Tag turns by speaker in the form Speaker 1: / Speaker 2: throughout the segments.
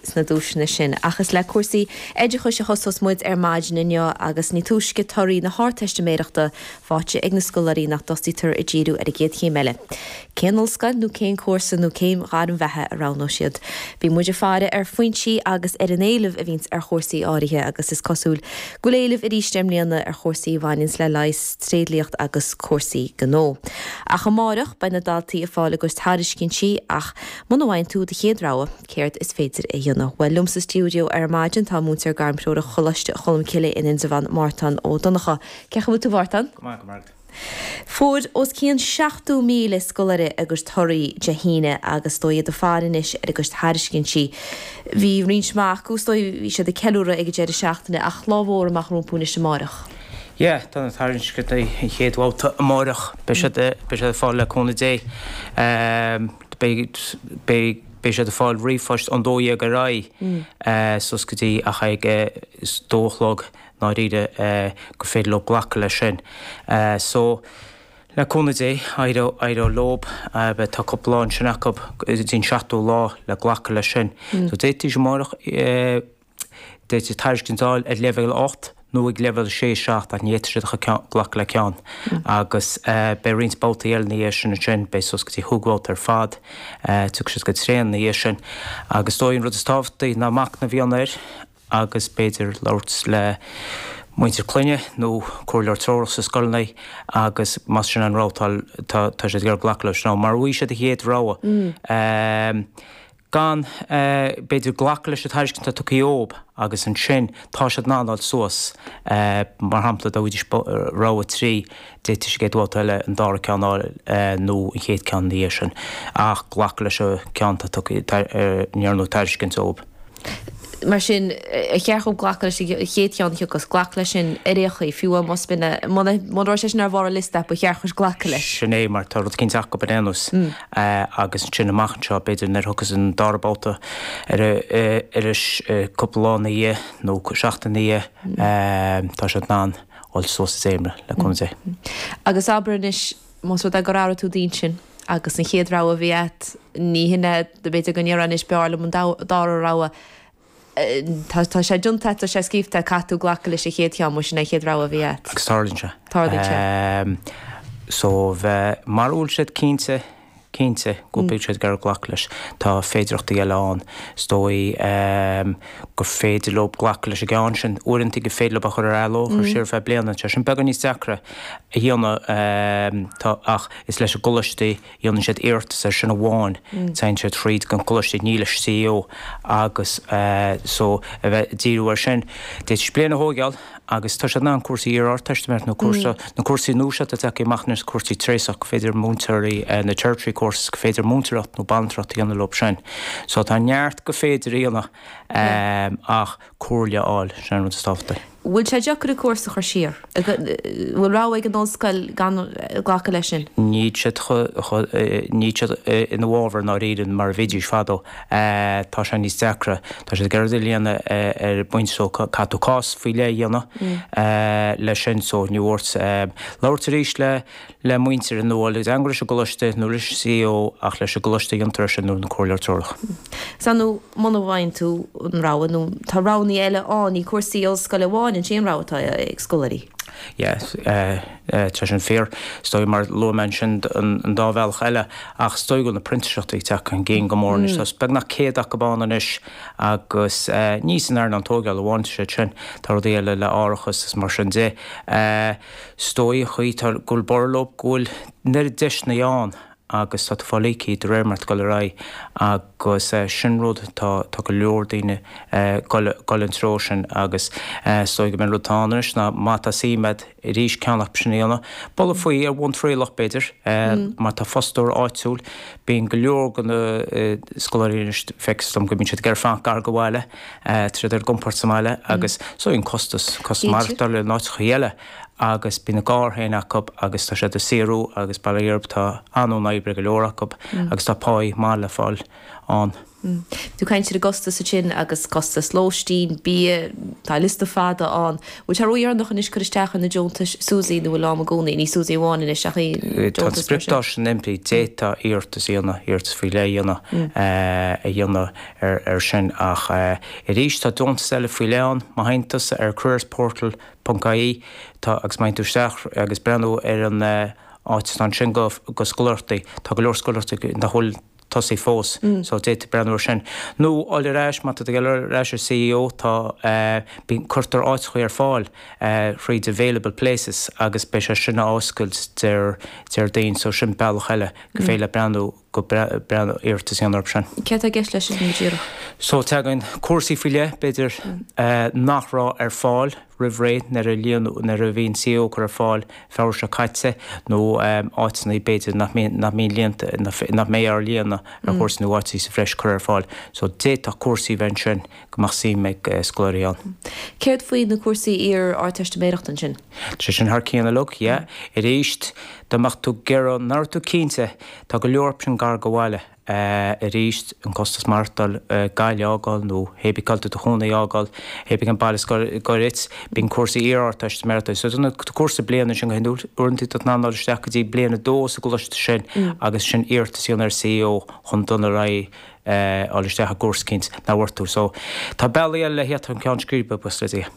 Speaker 1: Sna duaiseanna sin. Ach is le cúrsaí oideachais a thosós muid ar maidin inniu agus ní túisce torthaí na hArdteistiméireachta faighte ag na scoláirí ná tosaítear ag díriú ar an gcéad chéim eile. Cén ollscoil nó cén cúrsa nó cén ghairm bheatha a roghnóidh siad? Bíonn muid ag faire ar Foinsí agus ar an éileamh a bhíonns ar chúrsaí áirithe agus is cosúil go bhfuil éileamh arís i mbliana ar chúrsaí a bhaineanns le leigheas, tréidliacht agus cúrsaí gnó. Ach amáireach beidh na daltaí ag fáil a gcuid tairiscintí ach muna bhfaigheann tú do chéad rogha, Céard is féidir a dhéanamh? Bhuel, liom sa stiúideo ar maidin tá múinteoir gairmthreorach Choláiste Cholmcille in Indreabhán, Mártán Ó Donnchadha. Cén chaoi a bhfuil tú, a Mhártáin?
Speaker 2: Go maith, go maith.
Speaker 1: Fuair os cionn 70,000 scoláire a gcuid torthaí Dé hAoine agus is dóigh iad ag faire anois ar a gcuid tairiscintí. Bhí roinnt mhaith acu, is dóigh, bhí siad ag ceiliúradh ag an deireadh seachtaine ach lá mhór amach rompu anois amáireach.
Speaker 2: Yeah, tá na tairiscintí an chéad bhabhta amáireach. Beidh siad, beidh siad ar fáil le cúnamh Dé. Beidh, beidh, beidh siad ag fáil ríomhphoist ón 12 ar aghaidh suas go dtí ach ag a dó a chlog ndáiríre gur féidir leo glacadh leis sin. So, le cúnamh Dé, éireoidh, éireoidh leob. Beidh, tá cúpla lá ansin acu go dtí an seachtú lá le glacadh leis sin. So d'fhéadfaidís amáireach, D'fhéadfaí tairiscint a fháil ar leibhéal 8 nó ag leibhéal 6, 7 ach ní fhéadfaidh siad ach glacadh le ceann. Agus beidh roinnt babhtaí eile ina dhiaidh sin ansin, beidh suas go dtí chúig bhabhta ar fad, tiocfaidh siad go tréan ina dhiaidh sin. Agus is dóigh an rud is tábhachtaí ná machnamh a dhéanamh air agus b'fhéidir labhairt le muintir clainne nó comhairleoir treorach sa scoileanna agus más sin an rogha atá, tá siad ag iarraidh glacadh leis nó mara bhfaighidh siad a chéad rogha. gan, b'fhéidir, glacadh leis an tairiscint atá tugtha dhóibh agus ansin tá siad in ann dul suas, mar shampla, dá bhfaighidís rogha 3, d'fhéadfaidís an chéad bhabhta eile an dara ceann a fháil nó an chéad ceann ina dhiaidh sin, ach glacadh leis an ceann atá tugtha, a ndearnadh tairiscint dhóibh.
Speaker 1: Mar sin, ar cheart dhóibh glacadh leis an chéad cheann a thiocfas, glacadh leis sin ar aon chaoi, fiú amháin más b'in é, muna raibh sé sin ar bharr an liosta, ba cheart dhuit glacadh leis.
Speaker 2: Sin é, mar tá rud eicínt acu ar aon nós. Agus ansin amach anseo, b'fhéidir nuair a thiocfas an dara babhta ar ais cúpla lá ina dhiaidh nó seachtain ina dhiaidh, tá siad in ann dul suas i dcéimeanna, le cúnamh Dé.
Speaker 1: Agus abair anois, Más rud é gur athraigh tú d'intinn agus an chéad rogha a bhí agat, ní hin é, b'fhéidir go ndéarfá anois b'fhearr liom an dara rogha. Tá tá sé déanta agat, tá sé scríobhta agat, caithfidh tú glacadh leis an chéad cheann, más sin é an chéad rogha a bhí agat.
Speaker 2: Agus tarlaíonn sé.
Speaker 1: Tarlaíonn sé.
Speaker 2: So bheith, mara bhfuil siad cinnte, cinnte go bhfuil siad ag iarraidh glacadh leis. Tá féidearthachtaí eile ann. Is dóigh gur féidir leo glacadh leis an gceann sin. Uaireanta gur féidir leo a chur ar athló, a chur siar ar feadh bliana. Tá sin beagán níos deacra a dhéanamh tá ach is leis an gcoláiste a dhéanann siad iarratas air sin amháin. Téann siad thríd an gcoláiste, ní leis CAO agus so a bheith ag díriú air sin. D'fhéadfaidís bliain a thóigeáil. Agus tá siad in ann cúrsaí iar-Ardteistiméireachta nó cúrsa, na cúrsaí nua seo atá tagtha amach anois, cúrsaí tréasach, gur féidir múinteoirí, na tertiary courses, gur féidir múinteoireacht nó banaltracht a dhéanamh leo sin. So tá neart gur féidir a dhéanamh ach comhairle a fháil, sin an rud is tábhachtaí.
Speaker 1: Bhfuil sé deacair an cúrsa a chur siar? Bhfuil rogha ag an ollscoil gan glacadh leis sin?
Speaker 2: Níl siad, níl siad ina bhfabhar i ndáiríre mar a bhídís fadó. Tá sé níos deacra. Tá siad ag iarraidh a dhéanamh ar bhaint so caithfidh tú cás faoi leith a dhéanamh leis sin so ní ort labhairt arís le le muintir nó le teagmháil leis an gcoláiste nó leis an CAO ach leis an gcoláiste a dhéantar é sin nó an comhairleoir treorach.
Speaker 1: Sea nó muna bhfaigheann tú an rogha nó tá roghanna eile ann, ní cúrsaí ollscoile amháin an t-aon rogha atá ag scoláirí.
Speaker 2: Yeah, tá sin fíor. Is dóigh mar luaigh mé ansin an dá bhealach eile ach is dóigh go bhfuil na printíseachtaí ag teacht chun cinn go mór anois. Tá beagnach 100 acu ann anois agus ní san earnáil tógála amháin atá siad sin, tá rudaí eile le árachas is mar sin de. Is dóigh an chaoi tá go bhfuil borradh leo go bhfuil an oiread deiseanna ann agus tá tú ag fáil íoctha de réir mar atá tú ag dul ar aghaidh agus sin rud tá tá go leor daoine ag dul dul an treo sin agus is dóigh go mb'é an rud atá ann anois ná má tá suim agat arís ceann acu sin a dhéanamh, bualadh faoi ar bhonn trialach b'fhéidir má tá fostóir áitiúil, bíonn go leor de na scoláirí anois feictear dom go mbíonn siad ag iarraidh fanacht gar do bhaile, tá siad ar a gcompord sa mbaile agus is dóigh an costas, costas maireachtála in áiteacha eile. agus bíonn a gcarr féin acu agus tá siad ag saothrú agus bail ó Dhia orthu tá an-fhonn oibre ag go leor acu agus tá páí maith le fáil ann.
Speaker 1: Bhí tú ag caint ar an gcostas ansin agus costas lóistín, bia, tá liosta fada ann. Bhfuil sé ródheireanach anois cur isteach ar na deontais SUSI nó bhfuil am i gcónaí? Ní SUSI amháin anois ach aon
Speaker 2: Tá an
Speaker 1: deontas mar sin.
Speaker 2: spriocdháta sin imithe, d'fhéadfá iarratas a dhéanamh, iarratas faoi leith a dhéanamh, a dhéanamh ar sin ach arís tá deontas eile faoi leith ann, má théann tusa ar careersportal ponc ie tá agus má théann tú isteach agus breathnú ar an áit atá ansin go scoláireachtaí, tá go leor scoláireachtaí nach bhfuil tosaithe fós so d'fhéadfá breathnú ar sin. Nó dul ar ais, má tá tú ag dul ar ais ar CAO tá, bíonn, cuirtear áiteachaí ar fáil thríd available places agus beidh sé sin á oscailt Déardaoin so sin bealach eile go féidir leat breathnú, go breathnú, iarratas a dhéanamh orthu sin.
Speaker 1: Céard atá i gceist leis sin go díreach?
Speaker 2: So tagann cúrsaí faoi leith b'fhéidir nach raibh ar fáil roimh ré nuair a líonadh, nuair a bhí an CAO curtha ar fáil Feabhra seo caite nó áiteanna b'fhéidir nach mbíonn, nach mbíonn líonta, nach mbeidh á líonadh ar chúrsaí nó áiteanna sa bhreis curtha ar fáil. So d'fhéadfadh cúrsaí a bheith ansin go mbeadh suim ag scoláirí ann.
Speaker 1: Céard faoi na cúrsaí iar-Ardteistiméireachta ansin?
Speaker 2: Tá sé sin thar cionn uilig, yeah. Arís, dá mbeadh tú ag iarraidh, nach raibh tú cinnte, tá go leor ansin gar go bhaile. Arís, an costas maireachtáil, Gaillimh a fhágáil nó hé bith cá bhfuil tú i do chónaí a fhágáil, hé bith cén baile is gaire duit, bíonn cúrsaí iar-Ardteistiméireachta. So tá cúrsa bliana ansin go hiondúil, uaireanta tá tú in ann dul isteach go dtí bliain a dó sa gcoláiste sin agus sin iarratas a dhéanamh ar CAO chun dul ar aghaidh dul isteach i gcúrsa eicínt nach bhfuair tú. So tá bealaí eile le theacht chun ceann scríbe, buíochas le Dia.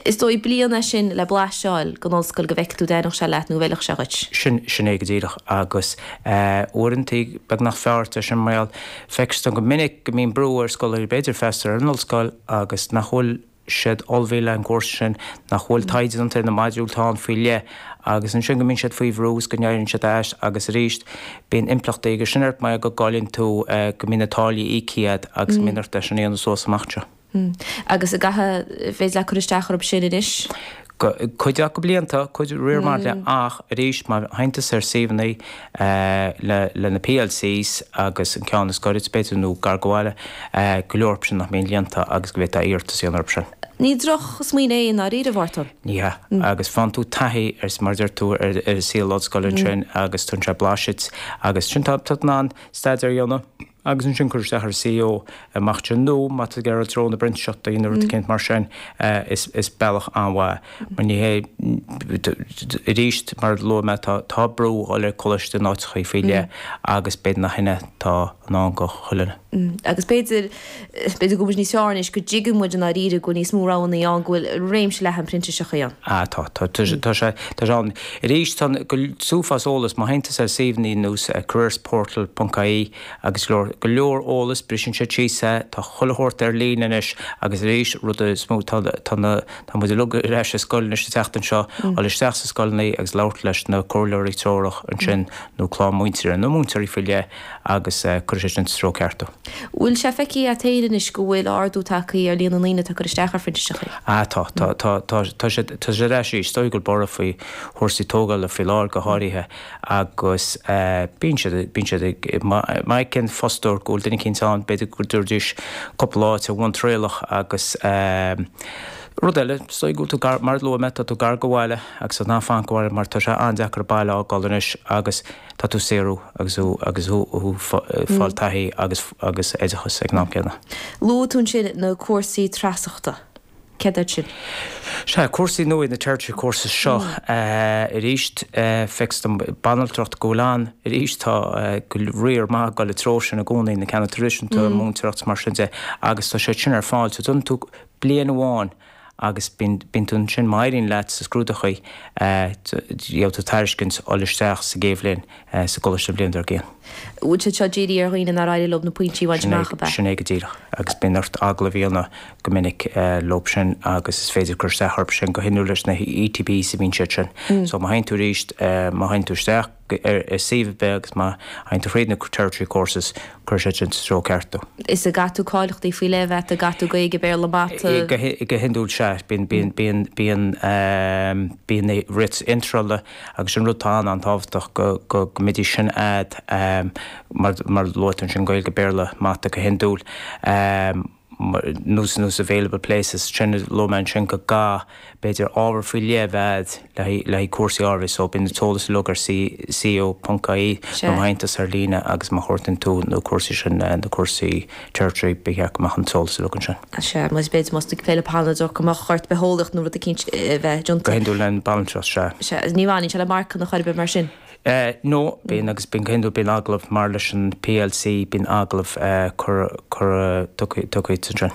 Speaker 1: Is dóigh bliain é sin le blaiseadh a fháil den ollscoil go bhfeicfidh tú an dtaitneodh sé leat nó an bhfeilfeadh sé dhuit.
Speaker 2: Sin, sin é go díreach agus uaireanta beagnach fearr é sin mar gheall, feictear dom go minic go mbíonn brú ar scoláirí b'fhéidir freastal ar an ollscoil agus nach bhfuil siad ullmhaithe le an gcúrsa sin, nach bhfuil taighde déanta ar na modúil atá ann faoi leith agus ansin go mbíonn siad faoi bhrú is go n-éiríonn siad as agus arís bíonn impleachtaí aige sin ort mar go gcailleann tú, go mbíonn na táillí íoctha agat agus go mbíonn ort é sin a dhéanamh suas amach anseo.
Speaker 1: Agus an gcaithfidh, féidir leat cur isteach orthu sin anois?
Speaker 2: Cuid acu líonta, cuid riar maith le, ach arís má théann tusa ar suíomhanna le le na PLCs agus an ceann is gaire duit b'fhéidir nó gar go bhaile, go leor orthu sin nach mbíonn líonta agus go bhféadfá iarratas a dhéanamh orthu sin.
Speaker 1: Ní droch smaoineamh é i ndáiríre, a Mhártan.
Speaker 2: Ní hea. Agus faigheann tú taithí ar, mar a deir tú, ar an saol ollscoile ansin agus tugann sé blaiseadh duit agus sin tá tú in ann staidéar a dhéanamh. agus ansin cur isteach ar CAO amach anseo nó má tá tú ag iarraidh i dtreo na bprintíseachtaí nó rud eicínt mar sin is bealach an-mhaith mar ní hé arís mar a luaigh mé tá tá brú ag dul ar coláiste in áiteachaí faoi leith agus b'fhéidir nach shin é atá i ndán go chuile
Speaker 1: dhuine. Agus b'fhéidir b'fhéidir go bhfuil muid níos fearr anois go dtuigeann muid i ndáiríre go bhfuil níos mó roghanna ann go bhfuil réimse leathan printíseachtaí ann.
Speaker 2: Ah tá tá tá sé tá sé ann. Arís tá go uafás eolas má théann tusa ar suíomhanna ar nós careersportal ponc ie agus go leor, go leor eolas, briseann siad síos é, tá chuile shórt ar líne anois agus arís, rud is mó, tá, tá na, tá muid uilig ar ais ar scoil anois an tseachtain seo, dul isteach sna scoileanna agus labhairt leis na comhairleoirí treorach ansin nó clann múinteoirí nó múinteoirí faoi leith agus cuirfidh sé sin sa treo ceart
Speaker 1: thú. Bhfuil sé feicthe agat féin anois go bhfuil ardú tagtha ar líon na ndaoine atá ag cur isteach ar phrintíseachtaí?
Speaker 2: Ah tá, tá, tá, tá, tá sé, tá sé ar ais arís. Is dóigh go bhfuil borradh faoi chúrsaí tógála faoi láthair go háirithe agus bíonn siad, bíonn siad ag, má fheiceann fostóir go bhfuil duine eicínt ann, b'fhéidir go dtabharfaidís cúpla áit ar bhonn trialach agus rud eile, is dóigh go bhfuil tú gar, mar a luaigh mé, tá tú gar go bhaile agus tá tú in ann fanacht go bhaile mar tá sé an-deacair an baile a fhágáil anois agus tá tú ag saothrú agus thú, agus thú, thú ag fáil taithí agus, agus oideachas ag an am céanna.
Speaker 1: Luaigh tú ansin na cúrsaí treasachta. Céard iad sin?
Speaker 2: Sea, cúrsaí nua na tertiary courses seo arís, feictear dom banaltracht go bhfuil ann arís, tá go riar maith ag dul i dtreo sin i gcónaí, na ceanna traidisiúnta, múinteoireacht is mar sin de, agus tá siad sin ar fáil. So déanann tú bliain amháin agus bíonn tú ansin, má éiríonn leat sa scrúdachaí, gheobhaidh tú tairiscint dul isteach sa gcéad bhliain. sa gcoláiste an bhliain dár gcionn.
Speaker 1: Bhfuil siad seo dírithe ar dhaoine nár éirigh leo na pointí a bhaint amach, ab
Speaker 2: ea? Sin é go díreach. Agus bíonn ort agallamh a dhéanamh go minic leo sin agus is féidir cur isteach orthu sin go hiondúil leis na ETBs a bhíonn siad sin. So má théann tú arís, má théann tú isteach ar suíomh ar bith agus má théann tú thríd na tertiary courses, cuirfidh siad sin sa treo ceart
Speaker 1: thú. Is an gcaithfidh tú cáilíochtaí faoi leith a bheith agat, an gcaithfidh tú Gaeilge, Béarla, Mata?
Speaker 2: Go hiondúil sea. Bíonn, bíonn, bíonn, bíonn, bíonn na writs iontrála Agus an rud atá an-an-tábhachtach go go go mbeidís sin a'd mar mar luaigh tú ansin Gaeilge, Béarla, Mata go hiondúil. Nós nós available places sin luaigh mé ansin go gcaithfidh b'fhéidir ábhar faoi leith a bheith agat le haghaidh cúrsaí áirithe so bíonn an t-eolas uilig ar cu.ie nó MyAontas ar líne agus má chuartaíonn tú na cúrsaí sin na cúrsaí tertiary ba cheart go mbeadh an t-eolas uilig ansin.
Speaker 1: Sea, más b'fhéidir más tú ag plé le banaltracht go mbeadh ort bitheolaíocht nó rud eicínt a bheith déanta.
Speaker 2: Go hiondúil an banaltracht, sea.
Speaker 1: Sea, ní bhaineann sé le marcanna chor ar bith mar sin.
Speaker 2: No, bíonn agus bíonn go hiondúil bíonn agallamh mar leis an PLC bíonn agallamh cur cur tugtha ansin.